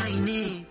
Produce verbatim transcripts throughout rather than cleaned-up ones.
Maine.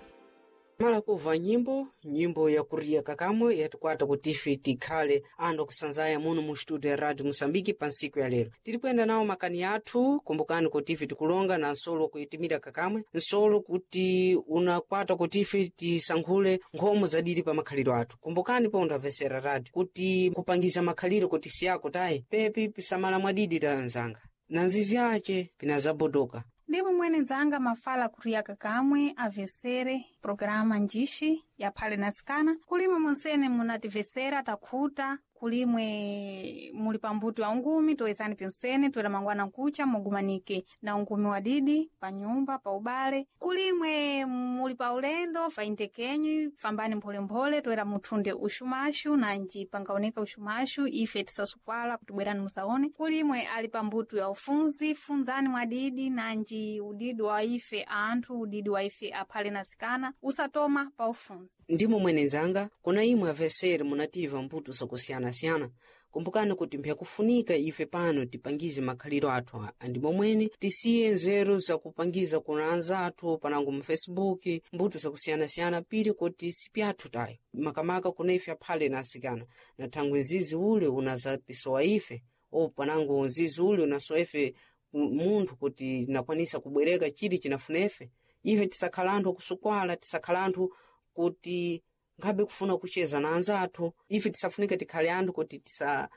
Mala kuva nyimbo, nyimbo ya kuriya kakamwe yatikwata kuti ife tikhale anthu akusanzaya muno mu studio ya Radio Moçambique pa ntsiku ya lero. Tiri kuyenda nawo makani athu, kumbukani kuti ife tikulonga na nsolo kuyitimira kakamwe, nsolo kuti unakwata kuti ife tisankhule nkhomo zadiri pa makhaliro athu. Kumbukani po undamvesera radio kuti kupangiza makhaliro kuti siyako tayi pepi pisamala mwadidi ta anzanga. Na nzizi ace pinazabodoka. Ndimo mwene nzanga mafala kuriyaka kamwe avesere programa njishi yaphale nasikana kulimwe munsene munativesera takhuta kulimwe muli pambuto ya ungumi toyezani pinsene toera mangwana nkucha mugumanike na ungumi wa didi pa nyumba pa ubale kulimwe muli pa ulendo faintekenyi fambani mpholemphole toera muthunde uxumaxu nanji pangaoneka uxumaxu ife tisasukwala kuti bwerani musaone kulimwe ali pambuto ya ufunzi funzani mwadidi nanji udidi wa ife anthu udidi wa ife aphale nasikana usatoma pa ufunzi. Ndimo mwene nzanga kuna imwe avesere munativa mbuto zakusiyanasiyana. Kumbukani kuti mpyakufunika ife pano tipangize makhaliro athu andimo mwene tisiye nzeru zakupangiza kuna anzathu panango mu Facebook mbuto zakusiyanasiyana pili kuti sipyathu tayo makamaka kuna ife aphale na asikana na thangwe nzizi ule unazapisowa ife o panango nzizi ule unasowa ife munthu kuti nakwanisa kubwereka chili chinafuna ife ife tisakhala anthu akusukwala tisakhala anthu kuti ngabe kufuna kucheza na anzathu ife tisafunike tikhale anthu kuti tisa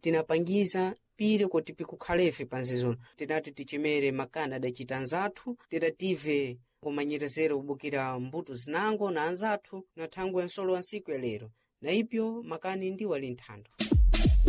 tinapangiza pili kuti pikukhalefe panzizono tinati tichemere makani adachita anzathu tidative kumanyerezero kubukira mbuto zinango na anzathu na thangwe ya nsolo wa ntsiku ya lero na ipyo makani ndiwo ali nthando.